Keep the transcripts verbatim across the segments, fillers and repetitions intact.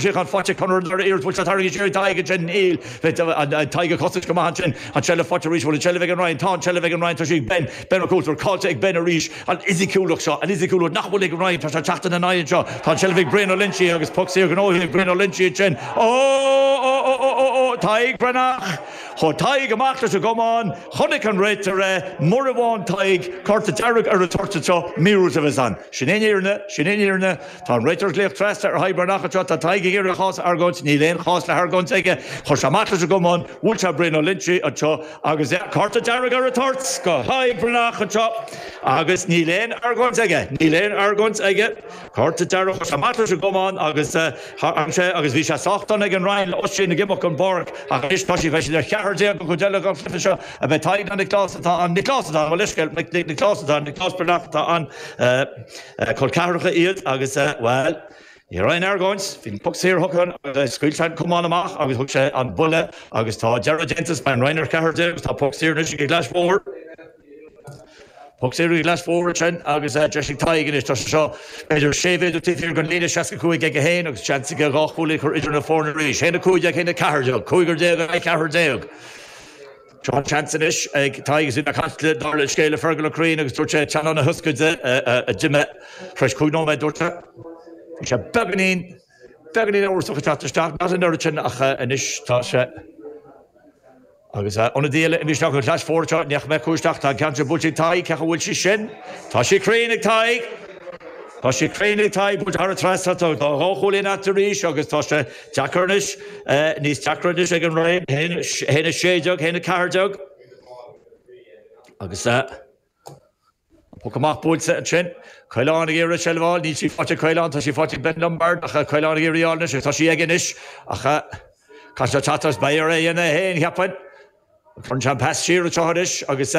Síocháin faighte Conor an dara iarracht bhfuil sé tarraingthe siar Tadhg ansin níl Tadhg ag cosaint go maith ansin an tseilbh faighte arís bhfuil an tseilbh ag an Rinn tá an tseilbh ag an Rinn tá sí ag Ben Ben Ó Coulter caillte ag Ben arís an fhisiciúlacht seo an fhisiciúlacht nach bhfuil ag an Rinn tá sé teacht ina n-aghaidh anseo tá an tseilbh ag Brian Ó Loinsigh agus poc saor gnóthaithe ag Brian Ó Loinsigh ansin ó ó ó ó ó ó Tadhg Breathnach Chuaigh Tadhg amach leis an gcamán chonaic an réiteoir é mura bhfaigheann Tadhg cárta dearg ar an toirt anseo míorúilt a bheas ann. Sin é an fhírinne, sin é an fhírinne. Tá an réiteoir ag glaoch trasna ar Thadhg Breathnach anseo, tá Tadhg ag iarraidh a chás a argóint, níl aon chás le hargóint aige. Chuir sé amach leis an gcamán, bhuail sé Brian Ó Loinsigh anseo agus cárta dearg ar an toirt go Tadhg Breathnach anseo agus níl aon argóint aige, níl aon argóint aige. Cárta dearg chuir sé amach leis an gcamán agus tharraing sé agus bhí sé sách dona ag an Rinn le Oisín ag imeacht ón bpáirc ach anois tá sí beidh siad ar cheathrar déag an chuid eile den chluiche seo a bheith Tadhg nó Nioclás atá ann Nioclás atá ann mo leithscéal Nioclás atá ann Nioclás Breathnach atá ann col ceathracha iad agus bhuel ní raibh aon argóint bhí an poc saor thugtha agus scaoil sé an camán amach agus thug sé an buille agus tá deireadh déanta beidh an Rinn ar cheathrar déag agus tá poc saor anois ag an gClais Mhór. Poc saor ag an gClais Mhór ansin agus deis ag Tadhg anois tá sé seo b'fhéidir sé mhéadar taobh thiar den líne seasca cúig aige féin agus seans aige dhá chúilín a chur idir na foirne arís. Haon a cúig déag, haon a ceathair déag, cúigear déag in aghaidh ceathrar déag. Seo an seans anois ag Tadhg agus bhí mé ag caint le dála an scéil le Fergal Ó Curraoin agus dúirt sé teannán na hioscaide a d'imigh tar éis cúig nóiméad dúirt sé. Bhí sé beagáinín beagáinín amhrasach ag teacht isteach, not an oiread sin ach anois tá sé Agus ionadaí eile imithe isteach ó Chlais Mhór anseo, ní fhaca mé cú isteach, tá an ceann seo buailte ag Tadhg, cé acu bhfuil sí sin? Tá sí cruinn ag Tadhg! Tá sí cruinn ag Tadhg, buailte thar an trasnán, tá dhá chúilín eatarthu arís agus tá sé deacair anois, níos deacra anois ag an Rinn, haon a sé déag, haon a ceathair déag. Agus an poc amach buailte ansin. Caolán ag iarraidh seilbh a fháil, níl sí faighte ag Caolán, tá sí faighte ag Ben Lombard ach Caolán ag iarraidh í a fháil anois agus tá sí aige anois ach caithfidh sé teacht as beidh air é a dhéanamh é féin, cheapfainn. Cuireann sé an pas siar anseo anois agus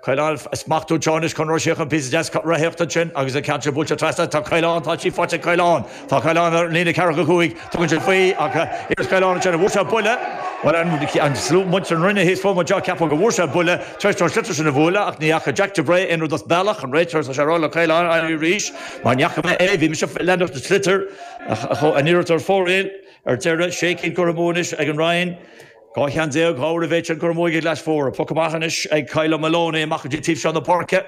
Caolán ag smachtú anseo anois Conor Ó Síocháin píosa deas reathaíochta ansin agus an ceann sin buailte trasna. Tá Caolán, tá sí faighte ag Caolán. Tá Caolán ar an líne ceathracha cúig. Tugann sé faoi ach iarracht Caolán ansin an bhfuair sé buille. Bhuel an slua muintir na Rinne thíos fúm anseo ceapaim go bhfuair sé buille tar éis dó an sliotar sin a bhualadh ach ní fhaca Jack de Bray aon rud as bealach. An réiteoir tá sé ag rá le Caolán éirí arís mar ní fhaca mé é. Bhí mise ag leanacht an tsliotair ach an iarracht ar fóraoil. Ar deireadh, sé cinn curtha amú anois ag an Rinn. Dhá cheann déag, dhá uair an mhéid sin curtha amú ag an gClais Mhór. Poc amach anois ag Kyle Maloney amach go dtí taobh seo na páirce.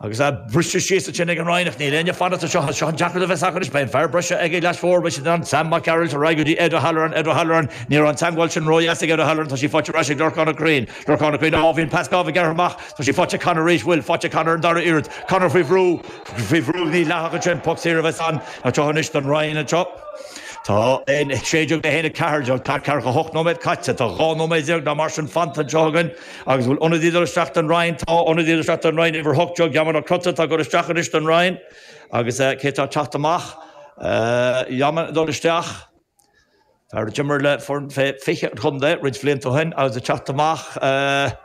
Agus é briste síos ansin ag an Rinn ach níl éinne ag fanacht anseo. Seo an deacracht a bheas acu anois. Beidh an fear breise ag an gClais Mhór. Beidh siad in ann Sam Mac Gearailt ar aghaidh go dtí Ed O'Halloran. Ed O'Halloran, ní raibh an teagmháil sin ródheas ag Ed O'Halloran. Tá sí faighte ar ais ag Lorcán Ó Curraoin. Lorcán Ó Curraoin, á, bhí an pas gábh gearrtha amach. Tá sí faighte ag Conor arís. Bhfuil faighte ag Conor an dara iarracht. Conor faoi bhrú. Faoi bhrú mídhleathach ansin. Poc saor a bheas ann anseo anois don Rinn anseo. Tá a sé déag le haon a ceathair déag, tá ceathracha hocht nóiméad caite, tá dhá nóiméad déag nó mar sin fanta anseo againn agus bhfuil ionadaí ag dul isteach don Rinn? Tá ionadaí ag dul isteach don Rinn, uimhir hocht déag, Yaman Ó Crotta atá ag dul isteach anois don Rinn agus cé atá ag teacht amach? Yaman ag dul isteach, fear a d'imir le foireann fé fiche an chontae roinnt bhlianta ó shin agus ag teacht amach,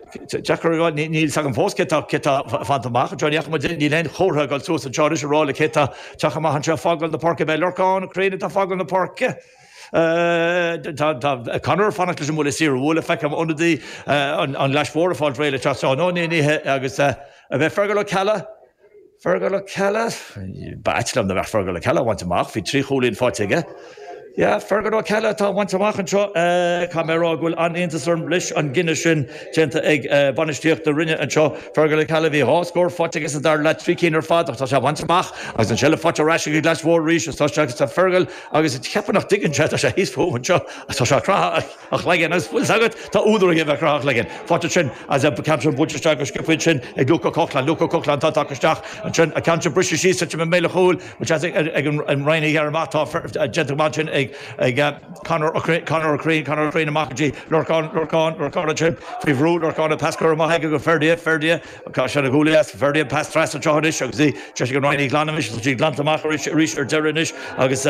Deacair a rá, níl fhios agam fós cé tá cé tá fanta amach anseo. Ní fhaca muid, níl aon chomhartha ag dul suas anseo anois a rá le cé tá teacht amach anseo ag fágáil na páirce. Beidh Lorcán Ó Curraoin atá ag fágáil na páirce. Tá tá Conor ag fanacht leis an mbuille saor a bhualadh. Feicim ionadaí an an Ghlais Mhór ag fáil réidh le teacht. Nó ní ní hé agus a bheith Fergal Ó Ceallaigh. Fergal Ó Ceallaigh? Ba ait liom dá mbeadh Fergal Ó Ceallaigh á bhaint amach, bhí trí chúilín faighte aige. Yeah, Fergal Ó Ceallaigh atá á bhaint amach anseo. Caithfidh mé a rá go bhfuil an-iontas orm leis an gcinneadh sin déanta ag bainistíocht na Rinne anseo. Fergal Ó Ceallaigh, bhí dhá scór faighte aige sa dara leath, trí cinn ar fad ach tá sé á bhaint amach agus an tseilbh faighte ar ais ag an gClais Mhór arís agus tá sé agus tá Fergal agus cheapfainn nach dtuigeann sé, tá sé thíos fúm anseo agus tá sé ag croitheadh a chloigeann agus bhfuil 's agat, tá údar aige a bheith ag croitheadh a chloigeann. Faighte ansin agus an ceann sin buailte isteach go sciobtha ansin ag Luke Ó Cochláin. Luke Ó Cochláin atá tagtha isteach ansin, an ceann sin briste síos titim i mbéal an chúil, bhfuil seans ag an Rinn a ghearradh amach, tá déanta go maith ansin ag Conor Ó Conor Ó Curraoin, Conor Ó Curraoin amach go dtí Lorcán, Lorcán, Lorcán ansin faoi bhrú, Lorcán an pas curtha amach aige go Ferdia, Ferdia, tá sé ina gcúlaí as, Ferdia an pas trasna anseo anois agus í deis ag an Rinn í a ghlanadh anois, tá sí glanta amach arís ar deireadh anois agus.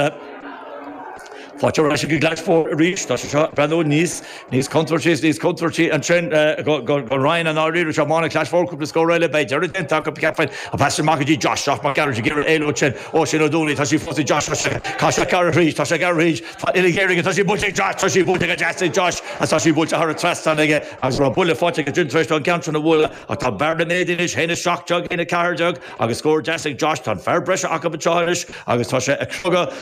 Faighte ar ais ag an Gclais arís tá sé seo breathnú níos níos contúirtí níos contúirtí ansin go Ryan an áirí seo mána Clais Mhór cúpla scór eile beidh deireadh déanta acu ceapfainn an pas amach go dtí Josh Josh Mac Gearailt ag iarraidh éalú sin ó sin Ó Dúlaí tá sí fós ag Josh tá sé gar arís tá sé gar arís tá uile Éirinn tá sí buailte ag Josh tá sí buailte go deas ag Josh agus tá sí buailte thar an trasnán aige agus raibh buille faighte aige tar éis an ceann sin a bhualadh ach tá bearna méid anois haon a seacht déag haon a ceathair déag agus scór deas ag Josh tá an fear breise acu anseo anois agus tá sé ag crogadh